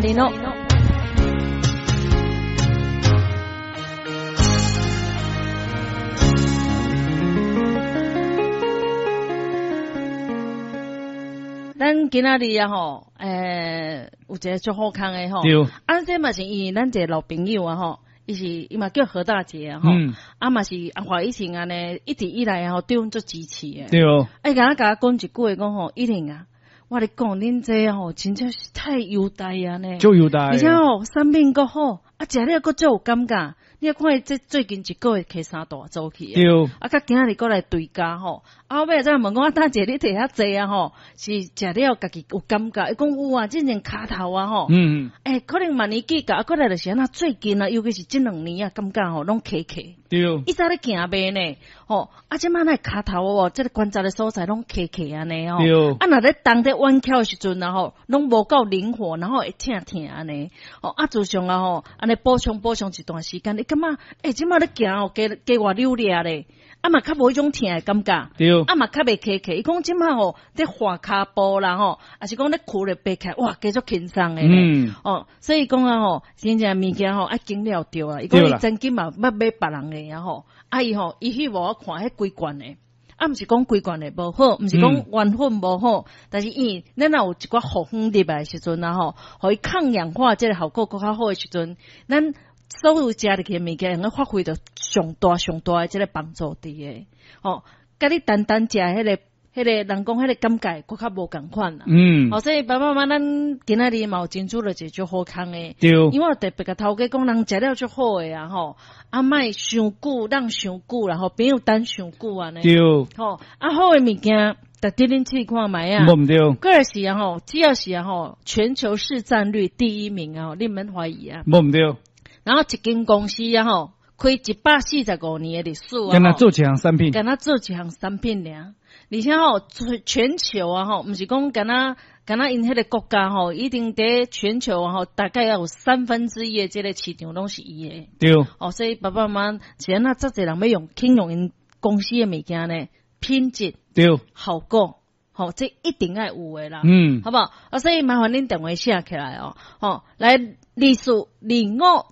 你喏。咱今仔日啊吼，有一个足好康的吼。啊，這嘛是因為咱一個老朋友啊吼，伊是伊嘛叫何大姐啊吼，啊嘛是阿華以前按呢一直以來啊吼對阮足支持的。欸，敢若共我講一句話講吼，一玲啊，我咧講恁這吼，真正是太優待啊呢。足優待。而且吼，產品閣好，啊，食了閣足有感覺。你看伊這最近一個月騎三大組去。啊，佮今仔日閣來追加吼，啊，後尾才問講啊，大姐你摕遐濟啊吼，是食了家己有感覺？伊講有啊，之前跤頭啊吼。欸，可能嘛年紀大，啊，閣來就是按怎最近啊，尤其是這兩年啊，感覺吼攏起起。以前咧行袂呢，吼，啊，這擺那跤頭哦，這個關節的所在攏起起按呢吼。啊，若咧動咧彎翹的時陣啊吼，攏無夠靈活，然後會疼疼按呢。吼，啊，自從啊吼，按呢補充補充一段時間，你感覺，欸，這擺咧行哦，加加偌溜掠咧，啊嘛較無彼種疼的感覺。啊嘛較袂起起，伊講這擺吼，咧滑跤步啦吼，抑是講咧跍咧爬起來，哇，加足輕鬆的咧。哦，所以講啊吼，真正物件吼愛經了著啊。伊講伊曾經嘛捌買別人的啊吼，啊伊吼，伊去予我看彼規罐的，啊毋是講規罐的無好，毋是講原粉無好，但是伊咱若有一寡予粉入來的時陣啊吼，予伊抗氧化這個效果閣較好的時陣，咱所有食入去的物件，會用發揮著上大上大的這個幫助佇个，吼，佮你單單食彼個。彼個人講彼個感覺閣較無仝款啦。哦，所以爸爸媽媽，咱今仔日嘛有爭取著一個足好康的。因為我特別共頭家講，人食了足好的啊吼，啊莫傷久，等傷久啦吼，朋友等傷久按呢。吼，啊好的物件，值得恁試看覓啊。無毋對。閣來是啊吼，只要是啊吼，全球市佔率第一名啊，你毋免懷疑啊。無毋對。然後一間公司啊吼，開145年的歷史啊，敢若做一項產品，敢若做一項產品爾。而且吼，全球啊吼，毋是講敢若敢若𪜶彼個國家吼，一定佇全球啊吼，大概要有三分之一的這個市場攏是伊的。哦，所以爸爸媽媽是按怎遮濟人欲用，肯用𪜶公司的物件呢？品質。效果，吼，這一定愛有的啦。好無？啊，所以麻煩恁電話寫起來哦，吼，來2425。